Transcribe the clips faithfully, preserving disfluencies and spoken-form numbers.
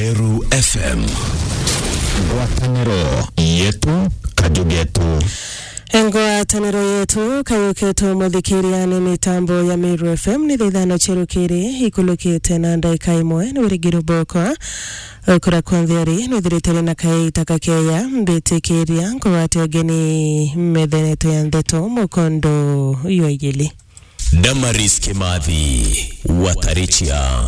Meru F M. Ngwataniro yetu, kaju getu. Ngwataniro yetu, kaju getu, muthikiria ni mitambo ya Meru F M, ni thaa ithano cia rukiri ikulukite na ndaika imwe, ni wirigiro bokwa. Ukura kwa nthiari, ni thirikari na kaita kakeya, mbitikiria, ngwate ugeni methenete ya ndeto, mukondo jwa igili. Damaris Kimathi, Watarichia.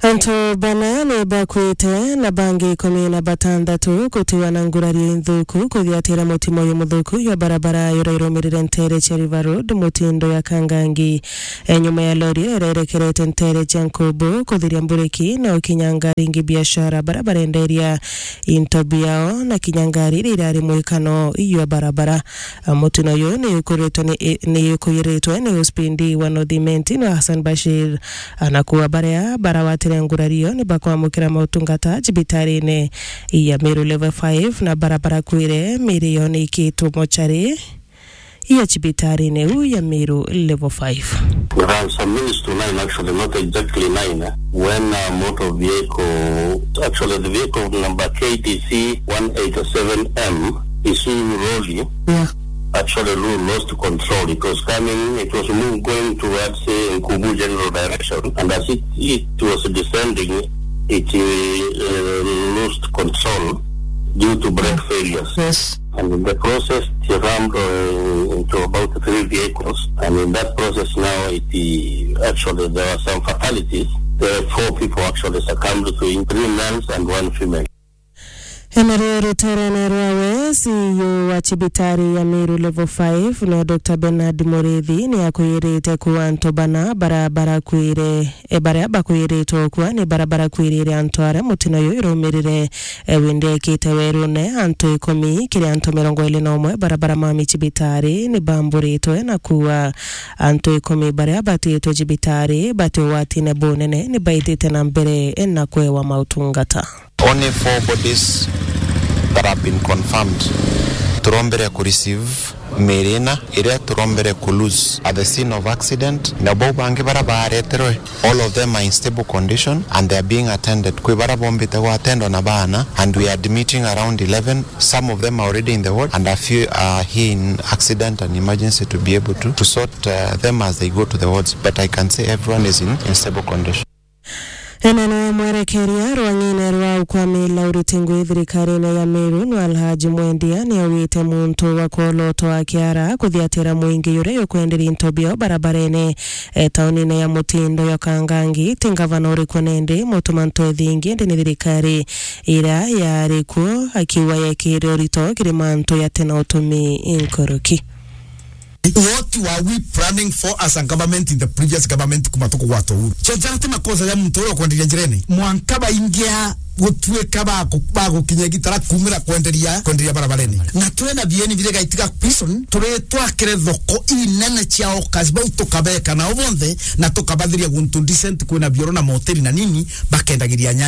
Antu bana ni bakwite na bangi ikumi na batantatu gutiwa na ngurario inthuku kuthiatira mutimo uyu muthuku jwa barabara uria irumirire ntere cia River Road mutindo ya Kangangi. E, nyuma ya lori iria irerekerete ntere cia Nkubu kuthiria mburiki na ukinya ngari ingi biashara baria barenderia into biao na kinya ngari iria irari mwikano jwa barabara. Mutino uyu ni ukuritwe ni, ni ukuiritwe ni uspindi wa North Imenti na Hassan Bashir. Anakuwa baria barawatire ngurario ni bakwamukira motungata cibitarine ya Meru Level five na barabara kwire miri yo ni ikitwo mochari ya cibitarine u ya Meru Level five. Around some minutes to nine, actually, not exactly nine, eh, when a motor vehicle, actually the vehicle number K D C one eight seven M, Isuzu lorry, yeah, actually lo-, lost control. It was coming, it was move-, going towards, uh, Nkubu general direction, and as it, it was descending, it, uh, lost control due to brake failures. Yes. And in the process, it rammed, uh, into about three vehicles. And in that process now, it, uh, actually, there were some fatalities. There were four people actually succumbed to in-, three males and one female. Enario ruterene rwawe, C E O wa cibitari ya Meru Level five, ni Doctor Bernard Murithi, ni akwirite kuwa antu bana bara-, barakwire, e, baria bakwiritwe ukua ni bara-, barakwirire antu aria mutino uyu irumirire. E, windi ekite werune antu ikumi kiri antu mirongo iri na umwe bara-, baramami cibitari ni bamburitwe na kuwa antu ikumi baria batitwe cibitari bati ugwatine bunene ni baitite na mbere na kwewa mautungata. Only four bodies that have been confirmed. Turombere ku receive miiri ina iria turombere ku lose at the scene of accident. Na bau bangi bara bareterwe, all of them are in stable condition and they are being attended. Kwi bara bombite gwatendwa na baana, and we are admitting around eleven. Some of them are already in the ward and a few are here in accident and emergency to be able to, to sort, uh, them as they go to the wards. But I can say everyone is in, in stable condition. Ena ni mwerekeria rwang'ine rwa ukwamila uriti ngui thirikarine ya Meru, no Alhaji Mwendia ni augite muntu wa kwolotwa akiara kuthiatira mwingi uria ukwenderia into bio barabarene, e, taunine ya mutindo ya Kangangi. Ti ngavana uriku nindi, mutuma ntwethi ingi ndi ni thirikari iria yari kuo, akiuga yekire urito kiri mantu yatena utumi nkuruki. What were we planning for as a government in the previous government kuma tukugwata uhuru? Chonchara ti makosa ya muntu uria ukwenderia njirene. Mwanka baingia gutuika bagu-, bagukinya gitara kumira kwenderia, kwenderia barabarene. Na twina bieni biria gaitiga prison, turitwakire thoko inene cia hawkers bau tukabeka nao bonthe na tukabathiria guntu decent kwina bioro na mahoteli na nini bakendagiria nyanya.